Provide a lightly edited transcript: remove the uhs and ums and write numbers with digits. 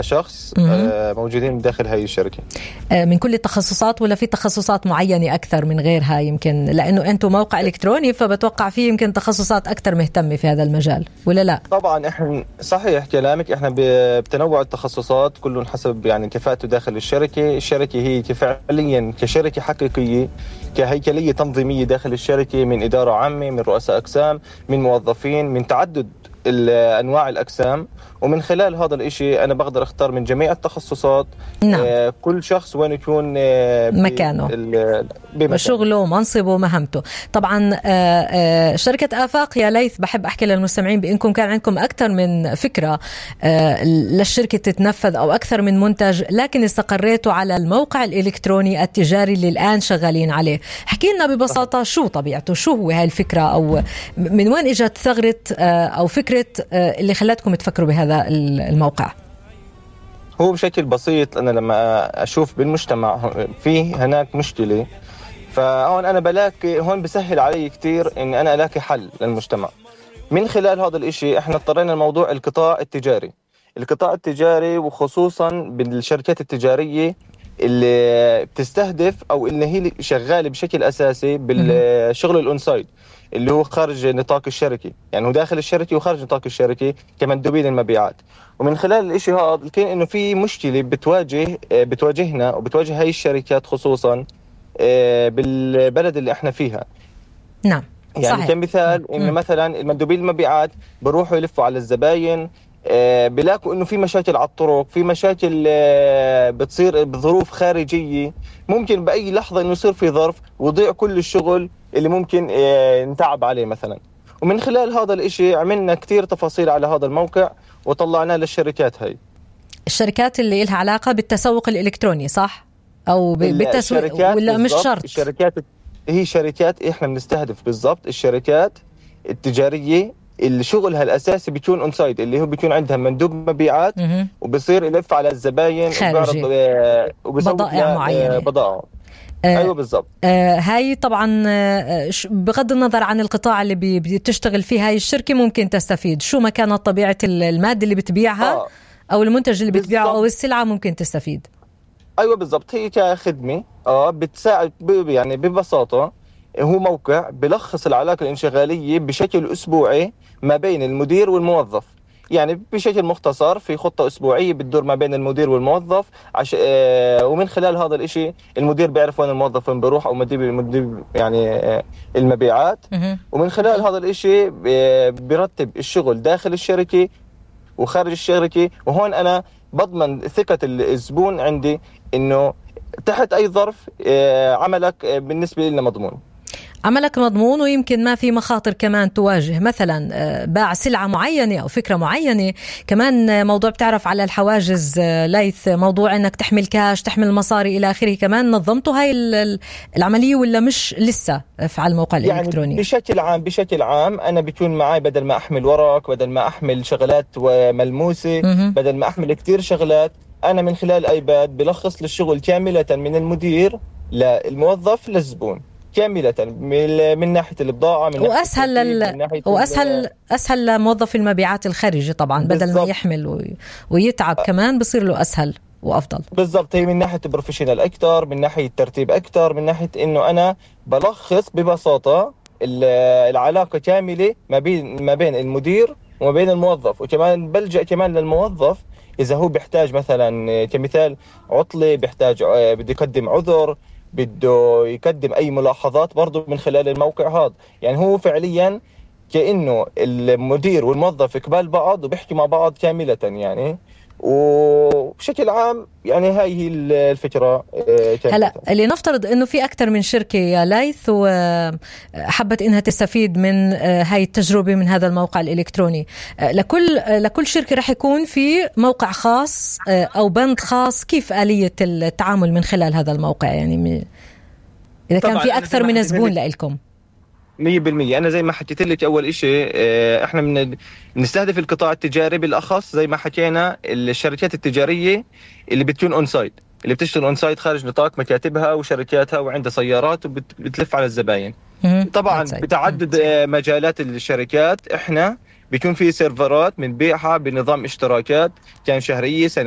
شخص موجودين داخل هاي الشركة. من كل التخصصات ولا في تخصصات معينة أكثر من غيرها؟ يمكن لأنه أنتم موقع إلكتروني فبتوقع فيه يمكن تخصصات أكثر مهتمة في هذا المجال ولا لا؟ طبعا إحنا صحيح كلامك، إحنا بتنوع التخصصات كله حسب يعني كفاءته داخل الشركة. الشركة هي فعليا كشركة حقيقية كهيكلية تنظيمية داخل الشركة، من إدارة عامة، من رؤساء أقسام، من موظفين، من تعدد أنواع الأقسام. ومن خلال هذا الإشي أنا بقدر أختار من جميع التخصصات. نعم. كل شخص وين يكون مكانه بشغله ومنصبه ومهمته. طبعا شركة آفاق يا ليث، بحب أحكي للمستمعين بأنكم كان عندكم أكثر من فكرة للشركة تتنفذ أو أكثر من منتج، لكن استقريتوا على الموقع الإلكتروني التجاري اللي الآن شغالين عليه. حكي لنا ببساطة شو طبيعته، شو هو هاي الفكرة، أو من وين إجت ثغرة أو فكرة اللي خلتكم تفكروا بهذا الموقع؟ هو بشكل بسيط، أنا لما أشوف بالمجتمع فيه هناك مشكلة، فهون أنا بلاقي هون بسهل علي كتير إن أنا ألاقي حل للمجتمع. من خلال هذا الإشي إحنا اضطرينا لموضوع القطاع التجاري وخصوصا بالشركات التجارية اللي بتستهدف أو اللي هي شغالة بشكل أساسي بالشغل الأونسايد اللي هو خارج نطاق الشركة، يعني هو داخل الشركة وخارج نطاق الشركة كمندوبين المبيعات. ومن خلال الاشي هذا كان انه في مشكلة بتواجهنا وبتواجه هاي الشركات خصوصا بالبلد اللي احنا فيها. نعم يعني صحيح. كمثال انه مثلا المندوبين المبيعات بروحوا يلفوا على الزباين، بلاقوا انه في مشاكل على الطرق، في مشاكل بتصير بظروف خارجية، ممكن بأي لحظة انه يصير في ظرف ويضيع كل الشغل اللي ممكن نتعب عليه مثلا. ومن خلال هذا الاشي عملنا كتير تفاصيل على هذا الموقع وطلعناه للشركات. هاي الشركات اللي لها علاقة بالتسوق الإلكتروني صح؟ أو بالتسويق ولا مش شرط؟ الشركات هي شركات احنا بنستهدف بالضبط الشركات التجارية اللي شغلها الأساسي بيكون اونسايد، اللي هو بيكون عندها مندوب مبيعات وبصير يلف على الزباين وبيسوق بضائع معينة بضائع. أيوة بالضبط. هاي طبعا بغض النظر عن القطاع اللي بتشتغل فيه هاي الشركة ممكن تستفيد، شو ما كانت طبيعة المادة اللي بتبيعها أو المنتج اللي بتبيعه أو السلعة ممكن تستفيد. أيوة بالضبط، هي كخدمة بتساعد يعني ببساطة. هو موقع بلخص العلاقة الانشغالية بشكل أسبوعي ما بين المدير والموظف، يعني بشكل مختصر في خطة أسبوعية بتدور ما بين المدير والموظف ومن خلال هذا الإشي المدير بيعرف وين الموظف وين بيروح، أو مدير يعني المبيعات. ومن خلال هذا الإشي بيرتب الشغل داخل الشركة وخارج الشركة. وهون أنا بضمن ثقة الزبون عندي إنه تحت أي ظرف عملك بالنسبة لنا مضمون. عملك مضمون، ويمكن ما في مخاطر كمان تواجه مثلا باع سلعة معينة أو فكرة معينة. كمان موضوع بتعرف على الحواجز ليث، موضوع أنك تحمل كاش تحمل مصاري إلى آخره، كمان نظمتوا هاي العملية ولا مش لسه على الموقع يعني الإلكتروني؟ بشكل عام أنا بيكون معي بدل ما أحمل ورق، بدل ما أحمل شغلات ملموسة، بدل ما أحمل كتير شغلات، أنا من خلال آيباد بلخص للشغل كاملة من المدير للموظف للزبون كاملة، من ناحية البضاعة، من أسهل لموظف المبيعات الخارجي طبعا بدل بالزبط. ما يحمل ويتعب كمان بصير له أسهل وأفضل. بالضبط، هي من ناحية بروفيشنال أكتر، من ناحية ترتيب أكتر، من ناحية إنه أنا بلخص ببساطة العلاقة كاملة ما بين المدير وما بين الموظف. وكمان بلجأ كمان للموظف إذا هو بيحتاج مثلا كمثال عطلة، بيحتاج بده يقدم عذر، بده يقدم أي ملاحظات برضو من خلال الموقع هذا. يعني هو فعليا كأنه المدير والموظف قبال بعض وبيحكي مع بعض كاملة يعني. وبشكل عام يعني هاي هي الفكرة. هلا اللي نفترض انه في اكثر من شركة يا ليث وحبت انها تستفيد من هاي التجربة من هذا الموقع الالكتروني، لكل شركة رح يكون في موقع خاص او بند خاص. كيف آلية التعامل من خلال هذا الموقع؟ يعني اذا كان في اكثر من زبون لإلكم. 100%. أنا زي ما حكيت لك أول إشي إحنا بنستهدف القطاع التجاري بالأخص، زي ما حكينا الشركات التجارية اللي بتكون أونسايد، اللي بتشتغل أونسايد خارج نطاق مكاتبها وشركاتها وعندها سيارات وبتلف على الزباين. طبعا بتعدد مجالات الشركات إحنا بيكون في سيرفرات بنبيعها بنظام اشتراكات، كان شهرية